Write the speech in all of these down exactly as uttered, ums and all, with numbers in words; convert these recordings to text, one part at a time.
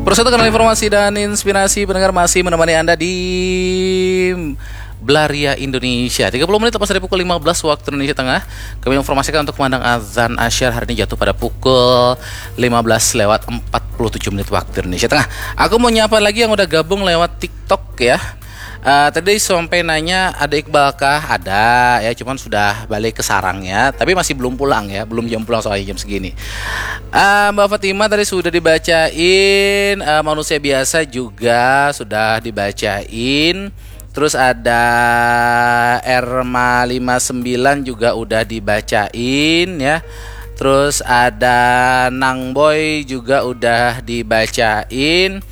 Persatu kanal informasi dan inspirasi pendengar masih menemani Anda di Belaria Indonesia. Tiga puluh menit lepas dari pukul lima belas waktu Indonesia Tengah, kami informasikan untuk kumandang azan asyar hari ini jatuh pada pukul lima belas lewat empat puluh tujuh menit waktu Indonesia Tengah. Aku mau nyapa lagi yang udah gabung lewat TikTok ya. Uh, tadi sampai nanya ada Iqbal kah? Ada ya, cuman sudah balik ke sarangnya, tapi masih belum pulang ya, belum jam pulang soalnya jam segini. Uh, Mbak Fatima tadi sudah dibacain, uh, manusia biasa juga sudah dibacain. Terus ada Erma lima sembilan juga udah dibacain ya. Terus ada Nang Boy juga udah dibacain.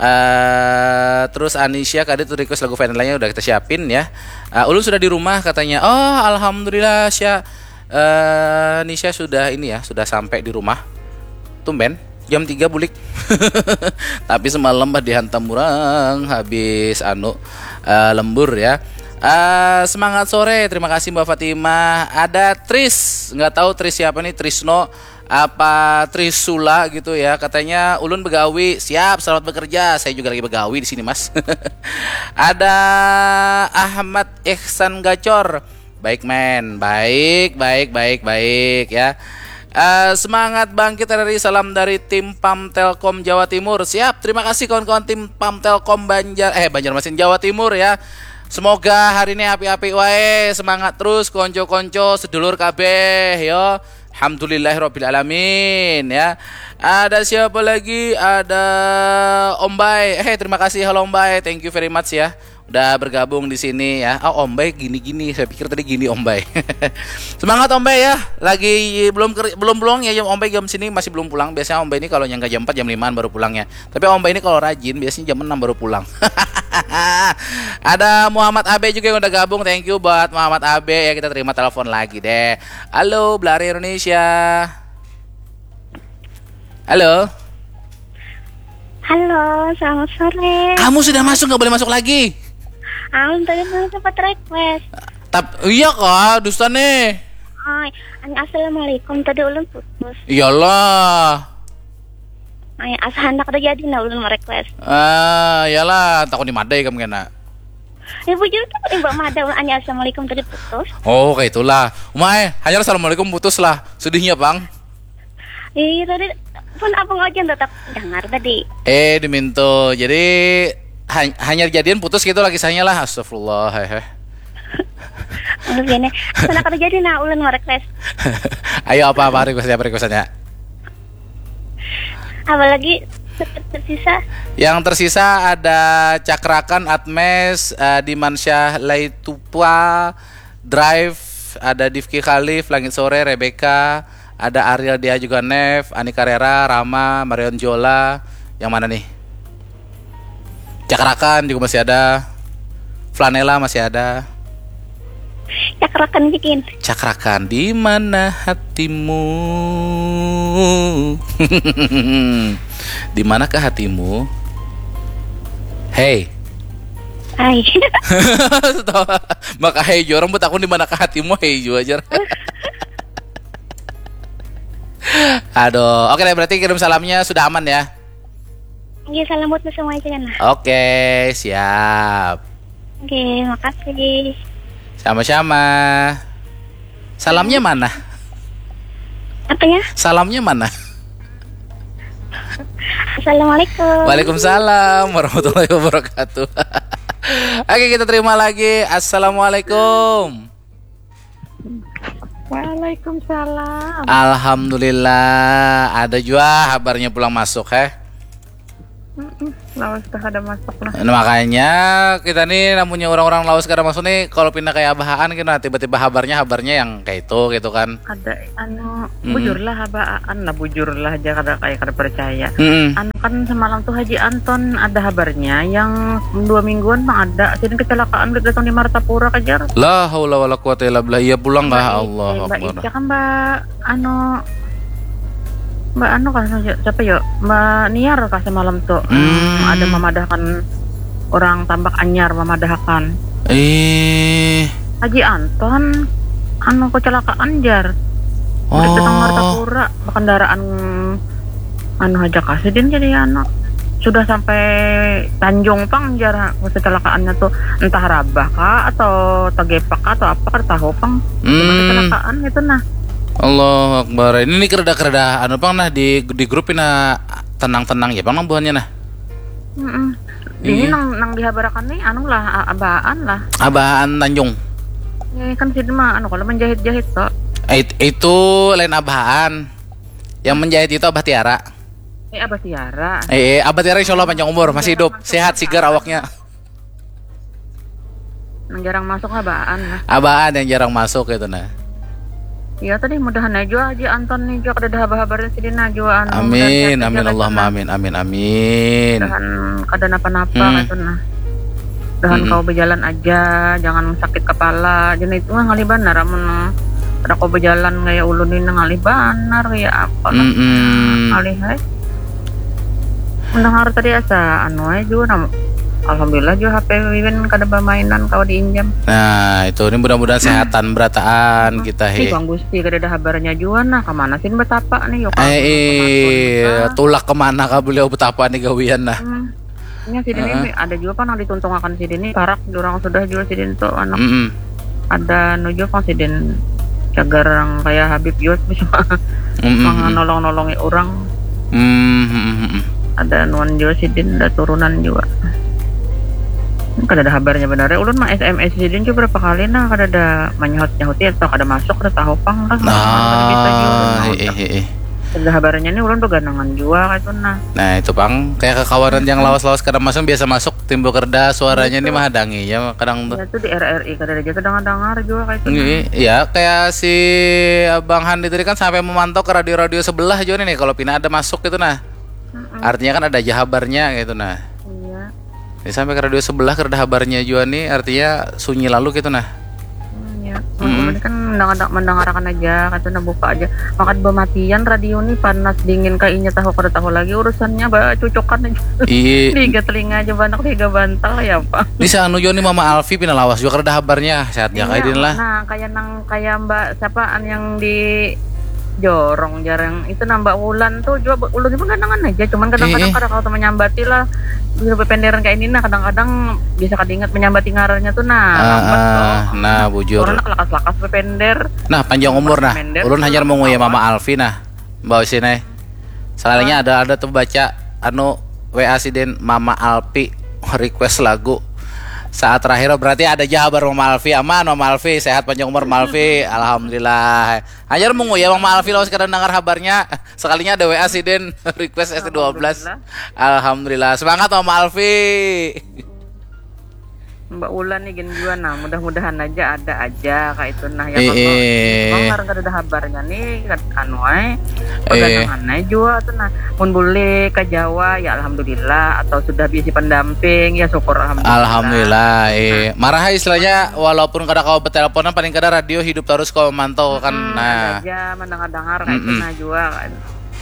Uh, terus Anisha tadi tuh request lagu Vanilla-nya udah kita siapin ya. Uh, ulun sudah di rumah katanya. Oh, alhamdulillah Sya. Uh, Nisha sudah ini ya, sudah sampai di rumah. Tumben jam tiga bulik. Tapi semalam bah dihantam orang habis anu uh, lembur ya. Uh, semangat sore, terima kasih Mbak Fatimah. Ada Tris, nggak tahu Tris siapa nih, Trisno apa Trisula gitu ya. Katanya ulun begawi, siap, selamat bekerja. Saya juga lagi begawi di sini, Mas. Ada Ahmad Ihsan Gacor. Baik men, baik, baik, baik, baik ya. Uh, semangat bangkit R R I, salam dari tim Pam Telkom Jawa Timur. Siap, terima kasih kawan-kawan tim Pam Telkom Banjar eh Banjarmasin Jawa Timur ya. Semoga hari ini api-api wae, semangat terus konco-konco sedulur kabeh yo. Alhamdulillahirobbilalamin ya. Ada siapa lagi? Ada Om Bay. Eh, terima kasih, halo Om Bay. Thank you very much ya. Udah bergabung di sini ya. Oh, Om Bay gini-gini. Saya pikir tadi gini Om Bay. Semangat Om Bay ya. Lagi belum ker- belum pulang ya Om Bay jam sini, masih belum pulang. Biasanya Om Bay ini kalau nyangka jam empat, jam limaan baru pulang ya. Tapi Om Bay ini kalau rajin biasanya jam enam baru pulang. Ada Muhammad Abe juga yang udah gabung. Thank you buat Muhammad Abe ya. Kita terima telepon lagi deh. Halo, Belari Indonesia. Halo. Halo, selamat sore. Kamu sudah masuk, nggak boleh masuk lagi. Aku tadi belum sempat request. Tap, iya kah, dusta nih. Ay, assalamualaikum, tadi ulun putus. Iyalah. Ay, asa handak ada jadi nah ulun merequest. Ah, iyalah, takut dimadai kamu kena. Ya bujur tuh, eh, Mbak Mada ulun hanya assalamualaikum tadi putus. Oh, kayak itulah. Umai, hanya assalamualaikum putus lah. Sedihnya, Bang. Iya, tadi pun apa ngajian tetap dengar tadi. Eh, diminto. Jadi hanyar jadian putus gitu lah kisahnya lah. Astagfirullah, hehe. Maksudnya, sana kada jadi nah ulun mau request. Ayo apa apa requestnya apa requestannya? Apalagi tersisa. Yang tersisa ada Cakrakan, Atmes, uh, Dimansyah Laitupa, Drive, ada Difki Khalif, Langit Sore, Rebecca, ada Ariel Dia juga Nev, Ani Carrera, Rama, Marion Jola, yang mana nih? Cakrakan juga masih ada. Flanela masih ada. Cakrakan bikin. Cakrakan di mana hatimu? Di manakah hatimu? Hey. Hai. Maka hey jua orang buat aku di manakah hatimu hey jua aja. Aduh, oke deh berarti kirim salamnya sudah aman ya. Iya, salam buat semua aja kan. Oke, siap. Oke, makasih. Sama-sama. Salamnya mana? Apanya? Salamnya mana? Assalamualaikum. Waalaikumsalam warahmatullahi wabarakatuh. Oke, kita terima lagi. Assalamualaikum. Waalaikumsalam. Alhamdulillah, ada juga habarnya pulang masuk, heh. Lawas dah ada masuk lah. Nah, makanya kita nih namanya orang-orang lawas kada masuk nih kalau pindah kayak abahaan gitu nah, tiba-tiba habarnya habarnya yang kayak itu gitu kan. Ada anu hmm. Bujur lah abaan lah bujur lah aja kada kayak kada percaya. Hmm. Anu kan semalam tuh Haji Anton ada habarnya yang dua mingguan bang ada sini kecelakaan udah datang di Martapura kejar. La haula wala quwata illa billah. Iya pulang kah Allah Akbar. Kan mbak anu Mbak anu kah siapa ya Mbak Niar kah semalam tuh hmm. Ada memadahkan orang tambak anyar memadahkan eh Haji Anton anu kecelakaan jar oh. Datang Martapura kendaraan anu aja kasih din jadi anu sudah sampai Tanjung pang jar kecelakaannya tuh, entah rabah kah atau tegepak kah atau apa, kada tahu pang. Cuma Hmm. kecelakaan gitu nah. Allahu Akbar. Ini nih kereda-kereda anu pang nah di di grup ini tenang-tenang ya pang nang buhannya nah. Mm-mm. Ini Iya. nang nang dihabarakan nih anu lah, a- abaan lah. Abaan Tanjung. Ini kan sini mah anu kalau menjahit-jahit kok. Eh, it- itu lain abahan. Yang menjahit itu Abah Tiara. Eh, Abah Tiara. Eh, eh, Abah Tiara insya Allah panjang umur, masih hidup, sehat, sigar awaknya. Nang jarang masuk abaan lah. Abaan yang jarang masuk itu nah. Iya tadi mudahan aja Haji Anton nih juga kada ada habar-habarnya sidin nah juga anu. Amin, amin Allahumma amin, amin, amin. Mudahan kada napa-napa Hmm. gitu nah. Mudahan Mm-mm. kau berjalan aja, jangan sakit kepala. Jadi itu mah ngalih banar amun kada kau berjalan kayak ulun ini ngalih banar ya apa lah. Mm-mm. Ngalih hai. Mendengar tadi asa anu aja juga nam. Alhamdulillah juga H P Wiwin kada bermainan kau diinjam. Nah, itu ini mudah-mudahan sehatan berataan kita Ih, he. Bang Gusti kada ada habarnya juga nah kemana sih betapa nih yuk. Eh, iya, tulak kemana kah beliau betapa nih gawian nah. Hmm. Nya sidin ini ada juga kan yang dituntungakan sidin ini parak orang sudah juga sidin tuh anak Mm-mm. ada nuju kan sidin cagar orang kayak Habib juga bisa Mm-mm. menolong-nolongi orang. Hmm, hmm, hmm, hmm. Ada nuan juga sidin ada turunan juga. Kada ada habarnya benar ya. Ulun mah S M S sidin juga berapa kali nah kada ada menyahut nyahuti atau kada masuk kada tahu pang kah. Kada bisa juga ulun Ah, mah. eh, eh, eh. Kada ada habarnya nih ulun beganangan juga kayak itu nah. Nah, itu pang kayak kekawanan yang lawas-lawas kada masuk biasa masuk timbul kerda suaranya nih mahadangi ya kadang tuh. Ya tuh di R R I kada ada aja kedengar-dengar juga kayak itu. Nah. Iya, ya kayak si Bang Handi tadi kan sampai memantau ke radio-radio sebelah juga nih kalau pina ada masuk gitu nah. Mm-mm. Artinya kan ada aja habarnya gitu nah. Iya. Ini sampai ke radio sebelah kada ada habarnya juga nih, artinya sunyi lalu gitu nah. Hmm, ya. Ulun kan mendengar- mendengarkan aja, kata nah buka aja. Makan bematian radio nih panas dingin kayaknya tahu kada tahu lagi urusannya ba cucukan aja. Iya. Tiga telinga aja banak tiga bantal ya apa. Ini si anu juga nih Mama Alfi pina lawas juga kada ada habarnya, sehat ya kayak Iya, lah. Nah, kayak nang kayak Mbak siapa an yang di jorong jarang itu nambah Wulan tuh juga ulun pun ganangan aja cuman kadang-kadang Iya. Kada kalau menyambati lah bisa berpenderan kayak ini nah kadang-kadang bisa kada ingat menyambati ngarannya tuh nah Ah, lambat ah, loh. Nah, bujur. Orang nak lakas-lakas berpender. Nah, panjang umur nah. Berpender. Ulun hanyar menguyah Mama Alfi nah. Mbak Usinai. Sekalinya ada ada tuh baca anu W A sidin Mama Alfi request lagu. Saat terakhir berarti ada aja habar Mama Alfi. Aman Mama Alfi, sehat panjang umur Mama Alfi. Alhamdulillah. Hanyar menguyah Mama Alfi lawas kada dengar habarnya. Sekalinya ada W A sidin request S T dua belas. Alhamdulillah. Semangat Mama Alfi. Mbak Ulan nih gin jua nah mudah-mudahan aja ada aja kayak itu nah ya Eh, kan eh. Bang karena kada ada habarnya nih kan anu ai Eh. peganangan ai jua tuh nah mun boleh ke Jawa ya alhamdulillah atau sudah bisi pendamping ya syukur alhamdulillah. Alhamdulillah. Eh, marah istilahnya walaupun kada kawa beteleponan paling kada radio hidup terus kawa mantau kan. Hmm, Nah. Ada aja mendengar-dengar kayak itu Mm-mm. Nah jua kan.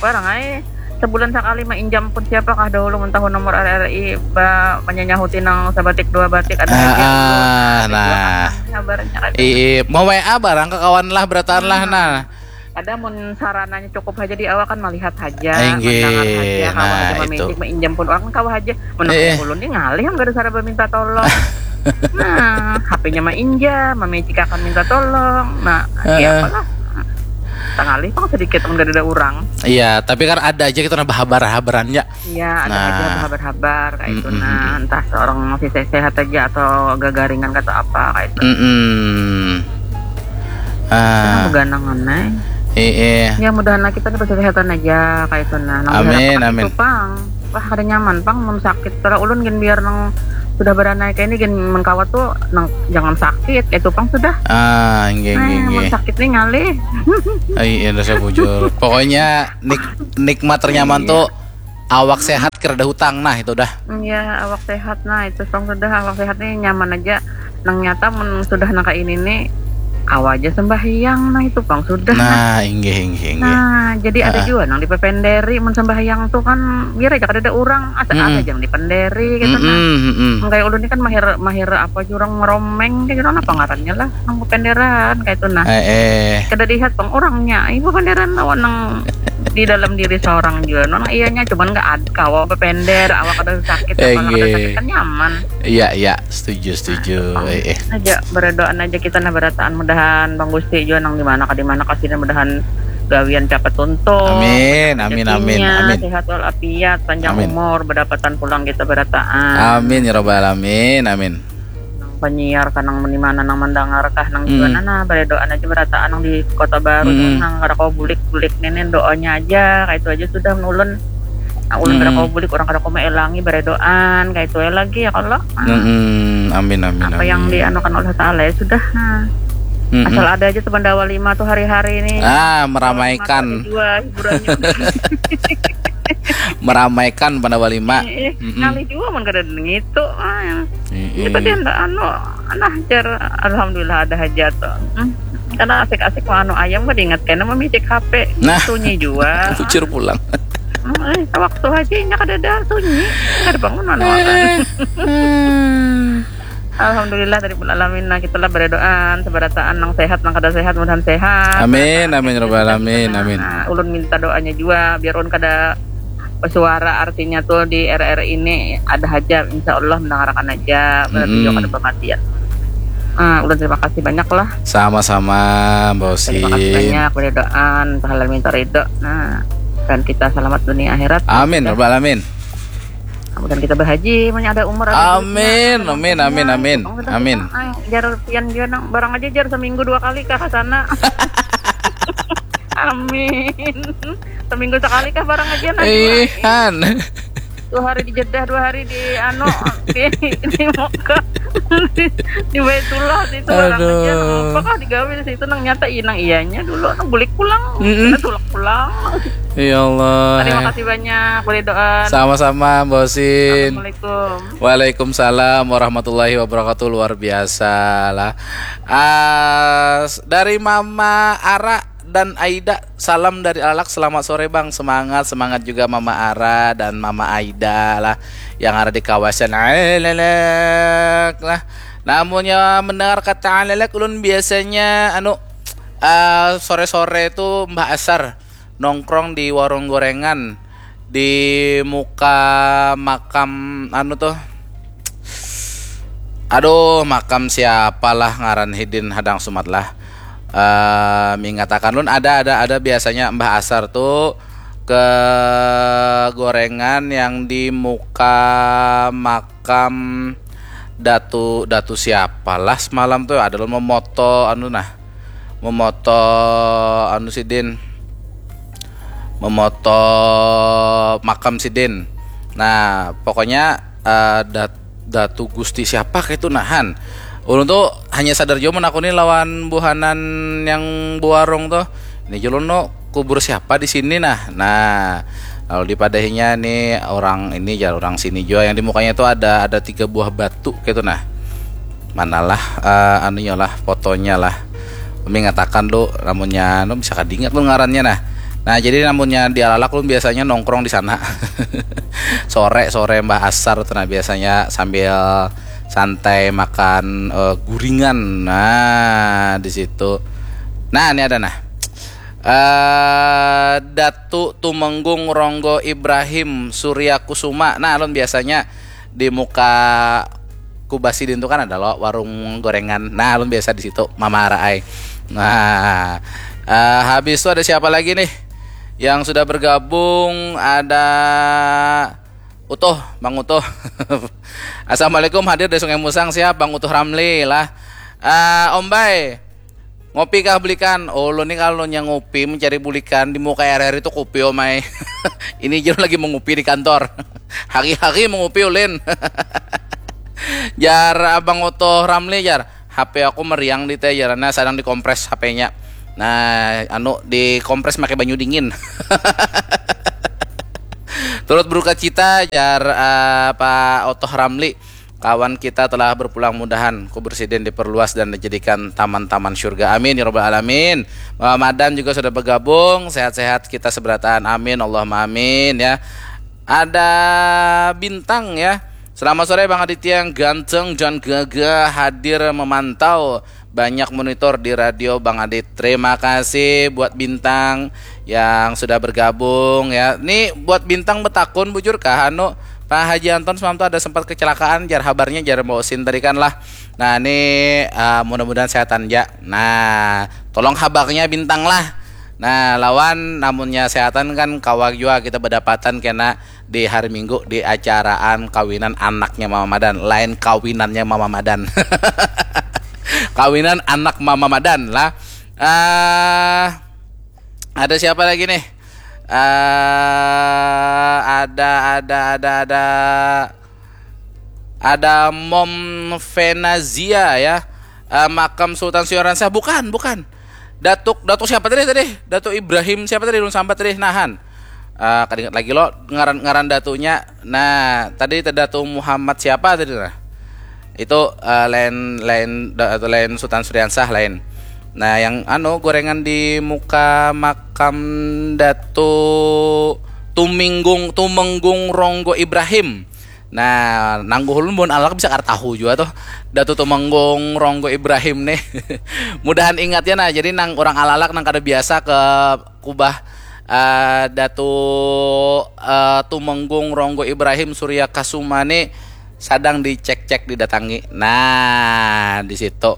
Barang ai sebulan sekali mainjam pun siapa kah dahulu mun tahu nomor R R I ba menyanyahuti nang sabatik dua batik ada Ah, aja. ah, Ada nah. jua kan kabarnya kan. Ii, mau W A barang ke kawan lah berataan lah nah. Ada mun sarananya cukup aja di awak kan melihat aja, Inggih, mendengar aja, kawa nah, aja memetik, itu. Meinjam pun orang kawa aja. Menang Eh. Ulun nih ngalih kada sara meminta tolong. Nah, H P-nya mah injam, mamicik akan minta tolong. Nah, Heeh. ya apalah. Tangalih pang sedikit mun kada ada orang. Iya, tapi kan ada aja kita nambah habar-habarannya. Iya, ada Nah. aja habar-habar kayak itu. Mm-mm. Nah, entah seorang masih se- sehat aja atau gagaringan atau apa kayak itu. Mm-mm. Ah, Beganangan, nah. Iya. Ya mudahan lah kita nih kesehatan aja kayak itu nah. Nang Amin, diharapkan amin. Itu pang. Wah, kada nyaman pang mun sakit. Kalau ulun gin biar nang sudah beranai kayak ini gin mengkawat tuh nang jangan sakit. Itu pang sudah. Ah, inggih, Nah, inggih, mun inggih. Sakit nih ngalih. Ai, iya rasa bujur. Pokoknya nik nikmat ternyaman Iya. Tuh awak sehat kira ada hutang nah itu dah. Iya, awak sehat nah itu pang sudah awak sehat nih nyaman aja. Nang nyata mun sudah nang kayak ini nih kawa aja sembahyang nah itu pang sudah. Nah, inggih inggih inggih. Nah, jadi ada Ah. juga nang dipependeri mun sembahyang tuh kan biar aja kada ada orang asa Mm-mm. ada yang dipenderi gitu nah. Mm-mm, mm-mm. Kayak ulun ini kan mahir mahir apa jurang ngeromeng kayak gitu apa ngarannya lah nang pependeran kayak itu nah. Eh, eh. Kada lihat pang orangnya, ibu penderan lawan nang di dalam diri seorang juga. Nang iyanya cuman nggak ad kawa bepender, awak ada sakit, kepala ada Enggih. sakit, kan nyaman. Iya, iya, setuju, setuju. Eh, eh. Aja berdoaan aja kita, nah, berataan, mudahan Bang Gusti juga nang di mana ka di mana ka sini, mudahan gawian cepat tuntung. Amin, amin, amin, Rezekinya amin. Sehat walafiat, panjang Amin. Umur, berdapatan pulang kita berataan. Amin ya rabbal alamin. Amin. Nang penyiar kah, nang di mana, nang mendengar kah, nang Mm. di mana, nah, berdoaan aja berataan, nang di Kota Baru, Mm. nang kada kau bulik-bulik nenen doanya aja, kayak itu aja sudah ulun. Nah, ulun kada Mm. kau bulik, orang kada kau maelangi, berdoaan kayak itu aja lagi ya kalau. Nah, Mm-mm. Amin, amin, apa amin. Yang dianukan oleh Taala ya sudah. Nah, Mm-mm. Asal ada aja tuh Pandawa lima tuh hari-hari ini. Ah, meramaikan. Mata jua hiburannya. Meramaikan Pandawa lima. Eh, eh, Mm-mm. Ngalih jua mun kada ngitu. Ah, yang Mm-mm. kita dia ndak anu, nah, jar, alhamdulillah ada hajat tuh. Hmm. Karena asik-asik mau anu ayam kan ingat kena memicik H P. Nah. Sunyi jua. Bujur pulang. Hmm, eh, waktu hajinya kada ada sunyi, kada bangun anu akan. Eh, hmm. Alhamdulillah dari alamin, nah, kita lah berdoaan seberataan, nang sehat nang kada sehat mudahan sehat. Amin, Nah, amin, kita rabbal juga alamin, nah, amin. Nah, ulun minta doanya juga biar ulun kada bersuara, artinya tuh di R R ini ada hajat, insya Allah mendengarkan aja, berarti Mm-mm. juga kada kematian. Nah, ulun terima kasih banyak lah. Sama-sama, Mbak Terima kasih Osin. Banyak berdoaan, pahala minta ridho. Nah, dan kita selamat dunia akhirat. Amin, Ya. Rabbal alamin. Kemudian kita berhaji, punya ada umur, ada Amin, duitnya. amin, amin, amin, Pokoknya amin. Kita, ah, jar pian juga nang barang aja jar seminggu dua kali kah ke sana. Amin. Seminggu sekali kah barang aja nah. Eh, Han. Dua hari di Jeddah, dua hari di anu di, di Mekah. Di, di Baitullah situ barang aja. Aduh. Apakah digawe di situ nang nyata inang iyanya dulu nang bulik pulang. Mm-mm. Nah, tulak pulang. Ya Allah. Terima kasih banyak, boleh doa. Sama-sama, Mbak Osin. Assalamualaikum. Waalaikumsalam warahmatullahi wabarakatuh. Luar biasa lah. Ah, s- dari Mama Ara dan Aida, salam dari Alalak. Selamat sore, Bang. Semangat, semangat juga Mama Ara dan Mama Aida lah yang ada di kawasan Alalak lah. Namunnya mendengar kata Alalak, ulun biasanya anu, ah, sore-sore tuh Mbah Asar nongkrong di warung gorengan di muka makam anu tuh. Aduh, makam siapalah ngaran hidin hadang sumat lah. Eh, mingatakan lun ada, ada, ada biasanya Mbah Asar tuh ke gorengan yang di muka makam Datu, Datu siapalah semalam tuh ada lun memoto anu nah. Memoto anu sidin. Memoto makam sidin. Nah, pokoknya eh, Dat- Datu Gusti siapa kayak itu nahan. Ulun tuh hanya sadar jua menakuni lawan buhanan yang buarung tuh. Ini julun no kubur siapa di sini nah. Nah, lalu dipadahinya nih orang ini jar orang sini jua yang di mukanya tuh ada ada tiga buah batu kayak itu nah. Manalah eh, anunya lah, fotonya lah. Mingatakan lu namunnya anu bisa kadingat lu ngarannya nah. Nah, jadi namunnya di Alalak lu biasanya nongkrong di sana. Sore-sore Mbah Asar tuh nah biasanya sambil santai makan eh, guringan. Nah, di situ. Nah, ini ada nah. Eh, Datu Tumenggung Ronggo Ibrahim Surya Kusuma. Nah, alun biasanya di muka Kubasi dintu kan ada lo warung gorengan. Nah, alun biasa di situ Mama Ara ai. Nah, eh, habis itu ada siapa lagi nih yang sudah bergabung? Ada Utuh, Bang Utuh. Assalamualaikum, hadir dari Sungai Musang, siap Bang Utuh Ramli lah. Eh, Om Bay, ngopi kah bulikan? Oh, ulun nih kalau nya ngopi mencari bulikan di muka R R itu kopi, Om ai. Ini jero lagi mengopi di kantor. Hari-hari mengopi ulin. Jar Abang Utuh Ramli jar, H P aku meriang di teh jarannya, sedang dikompres H P-nya. Nah, anu dikompres pakai banyu dingin. Turut berduka cita jar eh, Pak Utuh Ramli. Kawan kita telah berpulang, mudahan kubur sidin diperluas dan dijadikan taman-taman surga. Amin ya rabbal alamin. Mama Madan juga sudah bergabung, sehat-sehat kita seberataan. Amin, Allahumma amin ya. Ada Bintang ya. Selamat sore Bang Aditya yang ganteng dan gagah hadir memantau. Banyak monitor di radio Bang Adit. Terima kasih buat Bintang yang sudah bergabung ya. Nih buat Bintang betakun bujur kah anu Pak Haji Anton semalam tuh ada sempat kecelakaan jar habarnya jar Mbak Usin tadi kan lah. Nah ini uh, mudah-mudahan sehatan ya. Nah tolong habarnya Bintang lah. Nah lawan namunnya sehatan kan kawa jua kita berdapatan kena di hari Minggu di acaraan kawinan anaknya Mama Madan, lain kawinannya Mama Madan. Kawinan anak Mama Madan lah. Uh, ada siapa lagi nih? Uh, ada ada ada ada ada Mom Venazia ya. Uh, makam Sultan Suyaransah bukan bukan. Datuk Datuk siapa tadi tadi? Datuk Ibrahim siapa tadi? Ulun sambat tadi nahan. Uh, kada ingat lagi lo ngaran ngaran datunya. Nah, tadi Datu Muhammad siapa tadi nah? Itu uh, lain lain atau lain Sultan Suriansah lain. Nah, yang anu gorengan di muka makam Datu Tuminggung Tumenggung Ronggo Ibrahim. Nah, nangguhulun mun alak bisa kar tahu juga tuh Datu Tumenggung Ronggo Ibrahim nih. Mudahan ingat ya nah. Jadi nang orang alalak nang kada biasa ke kubah uh, Datu uh, Tumenggung Ronggo Ibrahim Surya Kasuma nih sadang dicek-cek didatangi. Nah, di situ.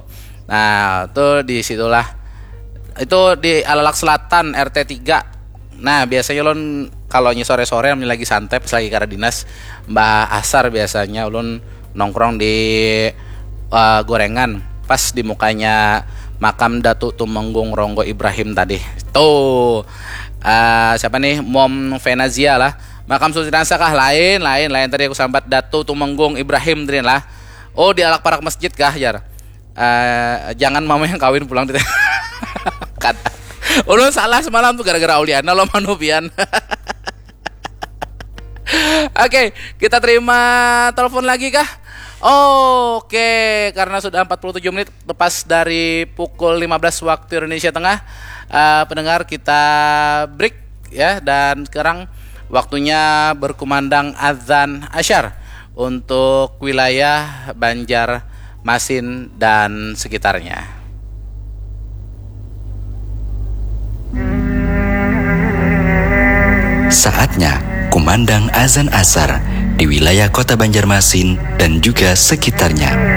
Nah, tuh di situlah. Itu di Alalak Selatan R T tiga. Nah, biasanya lon kalau nyi sore-sore lagi santai pas lagi karena dinas mbah asar biasanya ulun nongkrong di uh, gorengan pas di mukanya makam Datu Tumenggung Ronggo Ibrahim tadi. Tuh uh, siapa nih Mom Venazia lah. Makam Sultan kah lain lain lain tadi aku sambat Datu Tumenggung Ibrahim tadi lah. Oh di alak parak masjid kah jar. Uh, jangan mama yang kawin pulang di Kada. Ulun salah semalam tuh gara-gara Auliana lo manupian. Oke, kita terima telepon lagi kah? Oke, karena sudah empat puluh tujuh menit lepas dari pukul lima belas waktu Indonesia Tengah, uh, pendengar kita break ya dan sekarang waktunya berkumandang azan asyar untuk wilayah Banjarmasin dan sekitarnya. Saatnya kumandang azan asar di wilayah Kota Banjarmasin dan juga sekitarnya.